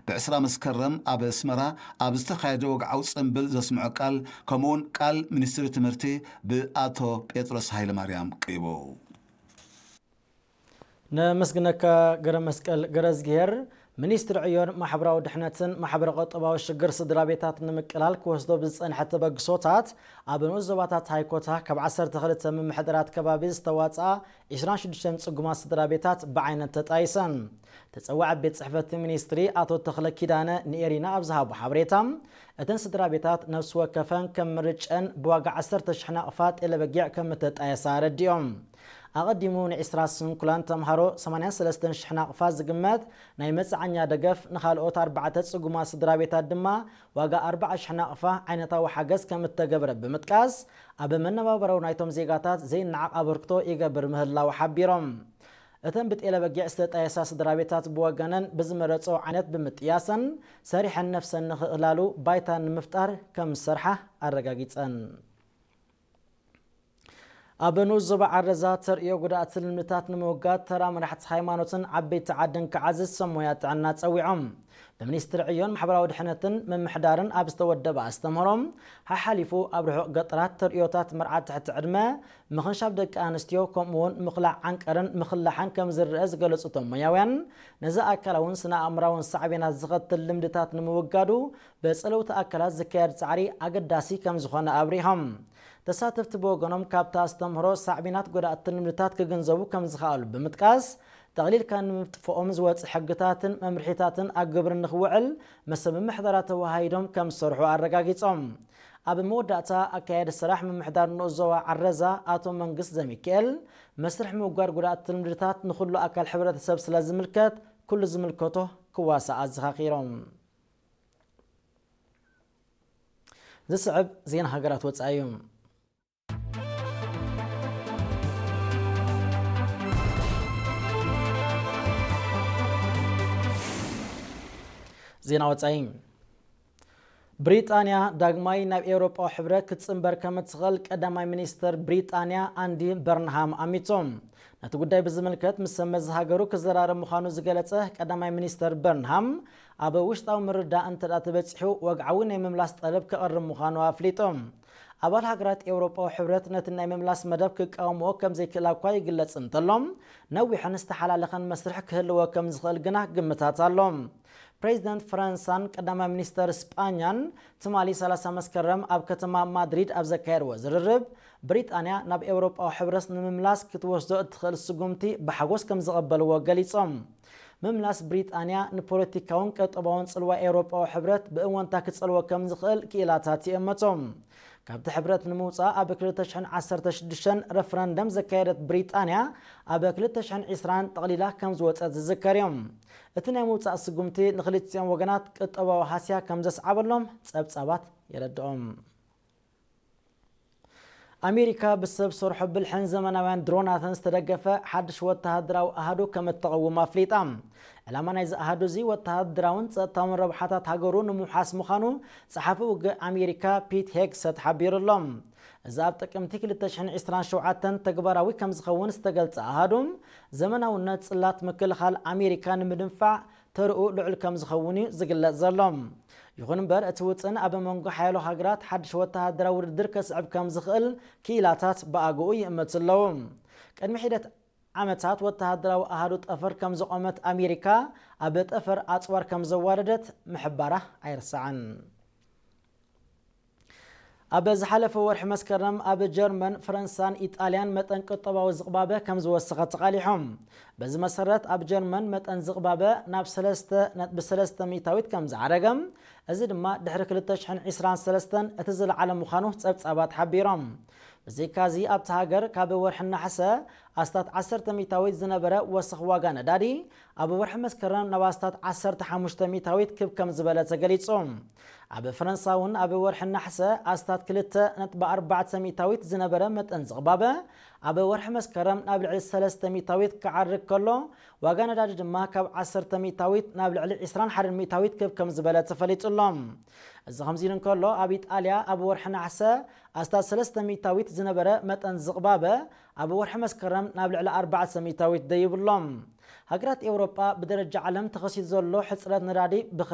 ብዕስራ መስከረም ኣብ ኣስመራ ኣብ ዝተኻየደ ወግዓዊ ጽምብል ዘስምዖ ቃል፣ ከምኡውን ቃል ሚኒስትሪ ትምህርቲ ብኣቶ ጴጥሮስ ሃይለማርያም ቀይቦ። ነመስግነካ ገረ መስቀል ገረዝግሄር። ሚኒስትሪ ዕዮን ማሕበራዊ ድሕነትን ማሕበረ ቁጠባዊ ሽግር ስድራ ቤታት ንምቅላል ክወስዶ ብዝጸንሐ ተበግሶታት፣ ኣብ ንኡስ ዞባታት ሃይኮታ ካብ ዓሰርተ ክልተ ምምሕዳራት ከባቢ ዝተዋጽኣ ዕስራን ሽዱሽተን ጽጉማት ስድራ ቤታት ብዓይነት ተጣይሰን። ተጸዋዒ ቤት ጽሕፈት ሚኒስትሪ ኣቶ ተኽለ ኪዳነ ንኤሪና ኣብ ዝሃቦ ሓበሬታ፣ እተን ስድራ ቤታት ነፍሲ ወከፈን ከም ምርጨን ብዋጋ ዓሰርተ ሽሕ ናቕፋ ጤለ በጊዕ ከም እተጣየሳ ኣረዲኦም። ኣቐዲሙ ንዕስራ ስንኩላን ተምሃሮ ሰማንያን ሰለስተን ሽሕ ናቕፋ ዝግመት ናይ መጽዓኛ ደገፍ፣ ንኻልኦት ኣርባዕተ ጽጉማት ስድራ ቤታት ድማ ዋጋ ኣርብዓ ሽሕ ናቕፋ ዓይነታዊ ሓገዝ ከም እተገበረ ብምጥቃስ፣ ኣብ መነባብራዊ ናይቶም ዜጋታት ዘይነዓቕ ኣበርክቶ ይገብር ምህላው ሓቢሮም። እተን ብጤለ በጊዕ ዝተጣየሳ ስድራ ቤታት ብወገነን ብዝመረጾ ዓይነት ብምጥያሰን ሰሪሐን ነፍሰን ንኽእላሉ ባይታ ንምፍጣር ከም ዝሰርሓ ኣረጋጊጸን። ኣብ ንኡስ ዞባ ዓረዛ ተርእዮ ጉድኣት ልምድታት ንምውጋድ ተራ መራሕቲ ሃይማኖትን ዓበይቲ ዓድን ክዓዝዝ ሰብ ሞያ ጥዕና ጸዊዖም። ብሚኒስትሪ ዕዮን ማሕበራዊ ድሕነትን ምምሕዳርን ኣብ ዝተወደበ ኣስተምህሮ፣ ሓሓሊፉ ኣብ ርሑቕ ገጠራት ተርእዮታት መርዓ ትሕቲ ዕድመ፣ ምኽንሻብ ደቂ ኣንስትዮ፣ ከምኡውን ምኽላዕ ዓንቀርን ምኽላሓን ከም ዝረአ ዝገለጹ እቶም ሞያውያን፣ ነዚ ኣካላውን ስነ ኣእምራውን ሳዕቤናት ዝኸትል ልምድታት ንምውጋዱ በጸለውቲ ኣካላት ዝካየድ ጻዕሪ ኣገዳሲ ከም ዝኾነ ኣብሪሆም። ተሳተፍቲ ብወገኖም ካብቲ ኣስተምህሮ ሳዕቤናት ጎዳእቲ ልምድታት ክግንዘቡ ከም ዝኸኣሉ ብምጥቃስ፣ ጠቕሊልካ ንምጥፍኦም ዝወጽእ ሕግታትን መምርሒታትን ኣብ ግብሪ ንኽውዕል ምስ ምምሕዳራት ተወሃሂዶም ከም ዝሰርሑ ኣረጋጊጾም። ኣብ መወዳእታ ኣካያዲ ስራሕ ምምሕዳር ንኡስ ዞባ ዓረዛ ኣቶ መንግስት ዘሚካኤል፣ መስርሕ ምውጋድ ጎዳእቲ ልምድታት ንኹሉ ኣካል ሕብረተሰብ ስለ ዝምልከት ኩሉ ዝምልከቶ ክዋሳእ ኣዘኻኺሮም። ዝስዕብ ዜና ሃገራት ወጻኢ እዩ። ዜና ወጻኢ። ብሪጣንያ ዳግማይ ናብ ኤውሮጳዊ ሕብረት ክትጽንበር ከም እትኽእል ቀዳማይ ሚኒስተር ብሪጣንያ ኣንዲ በርንሃም ኣሚቶም። ነቲ ጉዳይ ብዝምልከት ምስ ሰብ መዚ ሃገሩ ክዘራረብ ምዃኑ ዝገለጸ ቀዳማይ ሚኒስተር በርንሃም፣ ኣብ ውሽጣዊ ምርዳእ እንተ ደኣ ተበጺሑ፣ ወግዓዊ ናይ ምምላስ ጠለብ ከቕርብ ምዃኑ ኣፍሊጡ። ኣባል ሃገራት ኤውሮጳዊ ሕብረት ነቲ ናይ ምምላስ መደብ ክቃወምኦ ከም ዘይክእላ እኳ ይግለጽ እንተሎ፣ ነዊሕን ዝተሓላለኸን መስርሕ ክህልዎ ከም ዝኽእል ግና ግምታት ኣሎ። ፕሬዚደንት ፈረንሳን ቀዳማይ ሚኒስተር ስጳኛን ትማሊ ሰላሳ መስከረም ኣብ ከተማ ማድሪድ ኣብ ዘካየድዎ ዝርርብ፣ ብሪጣንያ ናብ ኤውሮጳዊ ሕብረት ንምምላስ ክትወስዶ እትኽእል ስጉምቲ ብሓጎስ ከም ዝቐበልዎ ገሊጾም። ምምላስ ብሪጣንያ ንፖለቲካውን ቀጠባውን ጽልዋ ኤውሮጳዊ ሕብረት ብእወንታ ክጸልዎ ከም ዝኽእል ክኢላታት ይእመቶም። ካብቲ ሕብረት ንምውጻእ ኣብ ክልተ ሽሕን ዓሰርተ ሽዱሽተን ረፈረንደም ዘካየደት ብሪጣንያ፣ ኣብ ክልተ ሽሕን ዕስራን ጠቕሊላ ከም ዝወጸት ዝዝከር እዩ። እቲ ናይ ምውጻእ ስጉምቲ ንክልቲኦም ወገናት ቁጠባዊ ሃስያ ከም ዘስዓበሎም ጸብጻባት የረድኦም። ኣሜሪካ ብሰብ ሰርሖ ብልሕን ዘመናውያን ድሮናትን ዝተደገፈ ሓድሽ ወተሃደራዊ ኣሃዱ ከም እተቐውም ኣፍሊጣ። ዕላማ ናይዚ ኣሃዱ እዚ ወተሃደራውን ጸጥታውን ረብሓታት ሃገሩ ንምውሓስ ምዃኑ ጸሓፊ ውግእ ኣሜሪካ ፒት ሄግሰት ሓቢሩ ኣሎ። እዚ ኣብ ጥቅምቲ ክልተ ሽሕን ዕስራን ሸውዓተን ተግባራዊ ከም ዝኸውን ዝተገልጸ ኣሃዱ፣ ዘመናውነት ጽላት ምክልኻል ኣሜሪካ ንምድንፋዕ ተርኡ ልዑል ከም ዝኸውን እዩ ዝግለጽ ዘሎ። ይኹን እምበር፣ እቲ ውጥን ኣብ መንጎ ሓያሎ ሃገራት ሓድሽ ወተሃደራዊ ውድድር ከስዕብ ከም ዝኽእል ክኢላታት ብኣግኡ ይእምቱ ኣለዉ። ቅድሚ ሒደት ዓመታት ወተሃደራዊ ኣሃዱ ጠፈር ከም ዘቖመት ኣሜሪካ፣ ኣብ ጠፈር ኣጽዋር ከም ዘዋረደት ምሕባራ ኣይርሳዕን። ኣብ ዝሓለፈ ወርሒ መስከረም ኣብ ጀርመን፣ ፈረንሳን ኢጣልያን መጠን ቁጠባዊ ዝቕባበ ከም ዝወሰኸ ተቓሊሖም። በዚ መሰረት ኣብ ጀርመን መጠን ዝቕባበ ናብ ሰለስተ ነጥቢ ሰለስተ ሚእታዊት ከም ዝዓረገ፣ እዚ ድማ ድሕሪ ክልተ ሽሕን ዕስራን ሰለስተን እቲ ዝለዓለ ምዃኑ ጸብጻባት ሓቢሮም። ብዘይካዚ ኣብቲ ሃገር ካብ ወርሒ ነሓሰ ኣስታት ዓሰርተ ሚእታዊት ዝነበረ ወሰኽ ዋጋ ነዳዲ ኣብ ወርሒ መስከረም ናብ ኣስታት ዓሰርተ ሓሙሽተ ሚእታዊት ክብ ከም ዝበለ ተገሊጹ። ኣብ ፈረንሳ እውን ኣብ ወርሒ ነሓሰ ኣስታት ክልተ ነጥቢ ኣርባዕተ ሚእታዊት ዝነበረ መጠን ዝቕባበ ኣብ ወርሒ መስከረም ናብ ልዕሊ ሰለስተ ሚእታዊት ክዓርግ ከሎ፣ ዋጋ ነዳዲ ድማ ካብ ዓሰርተ ሚእታዊት ናብ ልዕሊ ዕስራን ሓደን ሚእታዊት ክብ ከም ዝበለ ተፈሊጡ ኣሎ። እዚ ከምዚ ኢሉ እንከሎ፣ ኣብ ኢጣልያ ኣብ ወርሒ ነሓሰ ኣስታት ሰለስተ ሚእታዊት ዝነበረ መጠን ዝቕባበ ኣብ ወርሒ መስከረም ናብ ልዕሊ ኣርባዕተ ሚእታዊት ደይቡ ኣሎ። ሃገራት ኤውሮጳ ብደረጃ ዓለም ተኸሲቱ ዘሎ ሕጽረት ነዳዲ ብኸቢድ